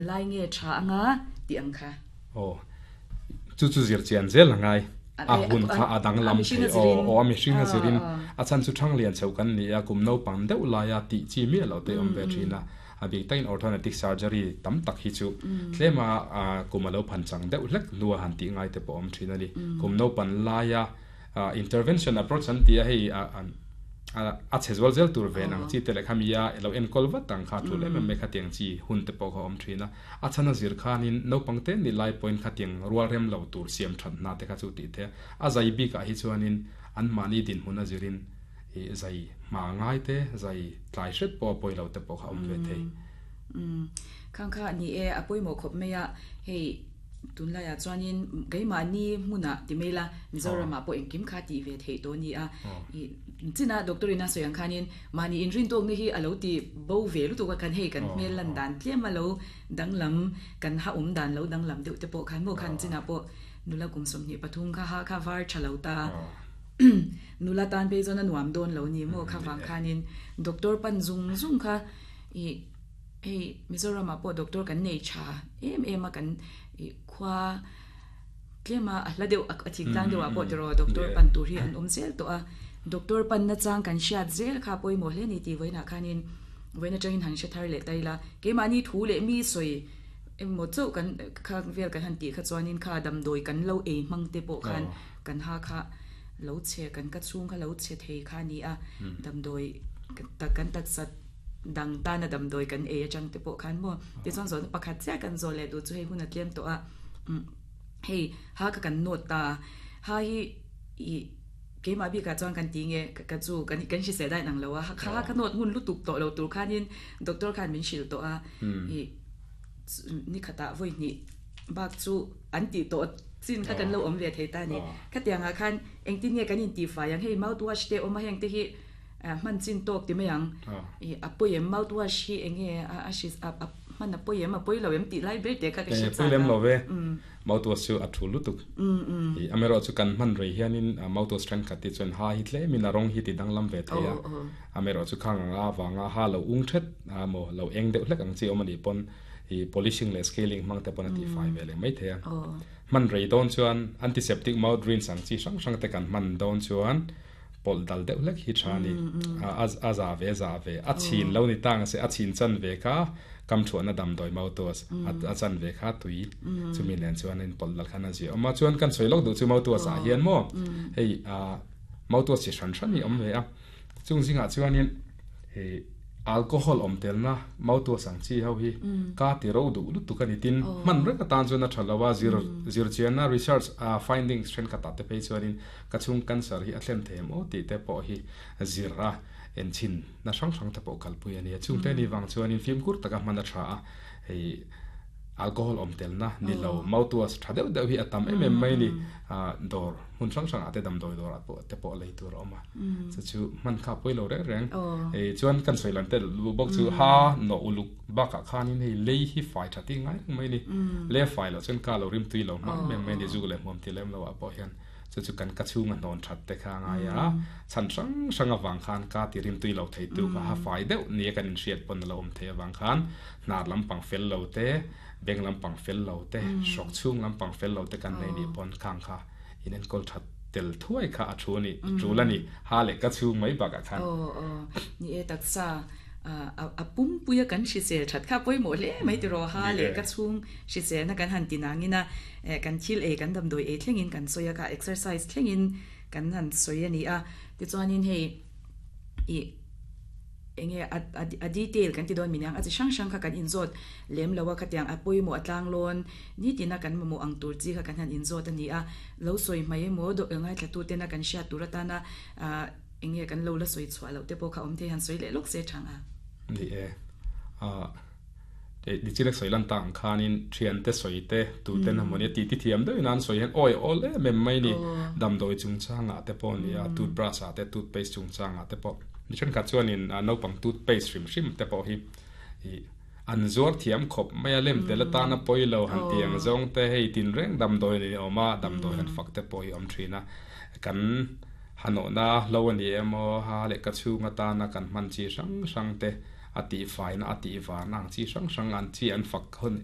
Lai nge tha anga tih ang kha. Aw, chu chu zir chian zel a ngai. A hun kha a danglam thei. Aw, aw a mihring a zirin a chhan chu thang lian chho kan ni a, kum naupang deuh laia tih chi miah loh te awm ve thin a. A bik takin orthodontic surgery tam tak hi chu tlema kum a lo phan chang deuh hlek hnua han tih ngai te pawh awm thin a ni. Kum naupan laia intervention approach an ti a, hei a chhe zual zel tur ven ang chi te leh khami a lo enkawl vat ang kha tul em em mai khatiang chi hun te pawh kha awm thin a. A chhan a zir khanin naupang te ni lai pawhin khatiang rual rem lo tur siam that hna te kha chu tih theih a. A zai bikah hi chuanin anmahni dinhmun a zirin ih zai hma ngai te, zai tlai hret pawh a pawi lo te pawh kha awm ve thei. Umm khang kha ni e, a pawimawh khawp mai a, hei tunlaiah chuanin keimahni hmunah ti mai la Mizoramah pawh engkim kha tih ve theih tawh a ni a, ih china doctor in a sawi ang khanin mahni inrintawkna hi a lo ti bo ve lutuk a khan hei kan hmel lan dan tlem a lo danglam kan ha awm dan lo danglam deuh te pawh khan maw khan chinah pawh nula kum 23 kha ha kha var tha lo ta. Nula tan phei chuan a nuam dawn lo ni maw kha vang khanin doctor pan zung zung kha ih hei Mizoramah pawh doctor kan nei tha em em a kan ih khua tlem a a hla deuh a thik tlang deuh ah pawh tiraw doctor pan tur hi an awm zel tawh a doctor pan na chang kan hriat zel kha pawimawh hle a ni tih vawiinah khanin vawiin atangin han hre thar leh ta ila keimahni thu leh mi sawi emaw chauh kan kha vel kan han tih kha chuanin kha damdawi kan lo ei hmang te pawh khan Kan ha kha lo chhe, kan ka chhung kha lo chhe thei kha a ni a, damdawi tak kan taksa dang tana damdawi kan ei atang te pawh khan maw tichuan zawhna pakhat chiah kan zawh leh duh chu hei hun a tlem tawh a, hei ha kha kan nawt ta, ha hi ih keimah bikah chuan kan ti nge ka chu kan hrisel daih nang lo a, ha kha nawt ngun lutuk tawh lo tur khanin doctor khan min hrilh tawh a, ih nikhatah vawi hnih bak chu an tih tawh chin kha kan lo awm ve thei ta a ni. Khatiangah khan engtin nge kan intihfai ang? Hei mouthwash te awm a, heng te hi hman chin tawk ti mai ang. Ih a pawi em? Mouthwash hi eng nge a hri a hman a pawi em? A pawi lo em tih lai ber te kha ka hre chak a. Pawi lem lo ve. Mouthwash chu a thu lutuk. Ih amaherawhchu chu kan hman rei hianin mouthwash thenkhat te chuan ha hi tlemin a rawng hi ti danglam ve thei a. Amaherawhchu khang ang a avanga ha lo ung thet a maw lo eng deuh hlek ang chi awm a nih pawn I polishing leh scaling hmang te pawn a tihfai ve leh mai thei a. Hman rei dawn chuan antiseptic mouth rinse ang chi hrang hrang te kan hman dawn chuan pawlh dal deuh hlek hi tha a ni. A za ve za ve. A chhin lo ni ta ang se a chhin chan ve kha kam thuahna damdawi mouthwash a chan ve kha tui chumi nen chuan in pawlh dal khan a zia awm a. Chuan kan sawi lawk duh chu mouthwash ah hian maw hei mouthwash chi hran hran hi a awm ve a. Chung zingah chuanin hei alcohol awm telna mouthwash ang chi ho hi ka ti ro duh lutuk a ni. Tin, hman reng atan chuan a tha lo a, zir zirchianna research findings thenkhatah te phei chuanin ka chhung cancer hi a thlen thei em aw tih te pawh hi zir a enchhin na hrang hrang te pawh kalpui a ni a. Chungte ni vang chuanin fimkhur taka hman a tha a, hei Alcohol awm telna ni lo mouthwash tha deuh deuh hi a tam em em mai a ni. Dawr hmun hrang hrangah te damdawi dawrah pawh te pawh lei tur a awm a. Chu chu hman kha pawi lo reng reng. Chuan kan sawi lan tel luh bawk chu ha nawh uluk bakah khanin hei lei hi fai tha tih ngai reng mai a ni. Lei a fai loh chuan ka lo rim tui lo hma em em mai a ni zuk leh hmuam ti lem lo ah pawh hian. Chu chu kan ka chhunga hnawn that te kha a ngai a, chhan hrang hrang avang khan ka ti rim tui lo thei tu kha ha fai deuh nia kan inhriat pawn a lo awm thei avang khan hnar lampang fel lo te, beng lampang fel lo te, hrawk chhung lampang fel lo te kan nei nih pawn khang kha in enkawl that tel thuai kha a thu a ni, tul a ni, ha leh ka chhung mai bakah khan. Aw aw, ni e taksa a pumpuia kan hrisel that kha pawimawh hle mai tiraw, ha leh ka chhung hriselna kan han ti nangin a kan thil ei kan damdawi ei thlengin kan sawi a kha exercise thlengin kan han sawi a ni a, tichuanin hei ih enge a a detail kan ti dawn min ang a chi hrang hrang kha kan inzawt lem lo a khatiang a pawimawh a tlang lawn nitina kan mamawh ang tur chi kha kan han inzawt a ni a, lo sawi mai emaw ngaithla tu tena kan hriat tur atana ah. Enge kan lo la sawi chhuah loh te pawh kha awm thei han sawi leh lawk se thang a. Ni e. Ahh Dichilek sawi lan tak ang khanin thiante sawi te tuten a mawni a titi thiam deuhin an sawi hian awi awl em em mai ni. Damdawi chungchangah te pawh a ni a, toothbrush ah te toothpaste chungchangah te pawh. Mi thenkhat chuanin naupang toothpaste hrim hrim te pawh hi ih an zuar thiam khawp mai a, lem tel atana pawi lo han tih ang zawng te hei tinreng damdawi ni awm a, damdawi han fak te pawh hi a awm thin a. Kan Hanawhna hlo a ni emaw, ha leh ka chhung atana kan hman chi hrang hrang te A tih faina, a tih varna ang chi hrang hrang an chi an fak hun.